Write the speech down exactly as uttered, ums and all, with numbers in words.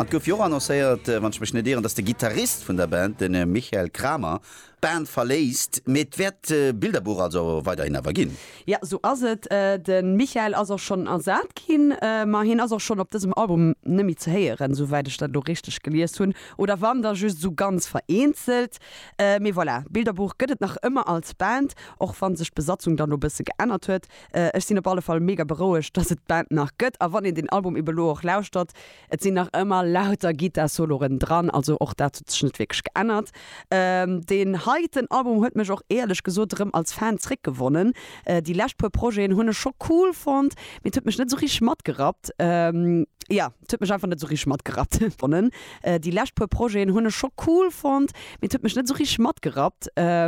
An gouf jo annoncéiert, äh, wann ech mech net ieren, dass de Gitarrist vun der Band, den äh, Michael Kramer, d'Band verléisst, mee et wäert äh, Bilderbuch also weiderhin awer ginn. Ja, sou ass et. Äh, de Michael ass och schonn ersat ginn, äh, ma hien ass och schonn op dësem Album net méi ze héieren, souwäit ech dat do richteg gelies hunn. Oder wann da just sou ganz vereenzelt. Äh, mee voilà, Bilderbuch gëtt et nach ëmmer als Band, och wann sech d'Besatzung dann e bësse geännert huet. Äh, ech sinn op alle Fall mega berouegt, dass et d'Band nach gëtt. A wann een den Album eben elo och lauschtert, et sinn nach ëmmer lauter Gittar-Soloen dran, also och dat huet sech net wierklech geännert. Ähm, den heiten Album huet mech och éierlech gesot rëm als Fan zréckgewonnen. Äh, déi lescht puer Projeten hunn ech scho cool fonnt, mee et huet mech net sou richteg matgerappt. Ähm, ja, et huet mech einfach net sou richteg matgerappt. Gewonnen. Äh, déi lescht puer Projeten hunn ech scho cool fonnt, mee et huet mech net sou richteg matgerappt. Ähm,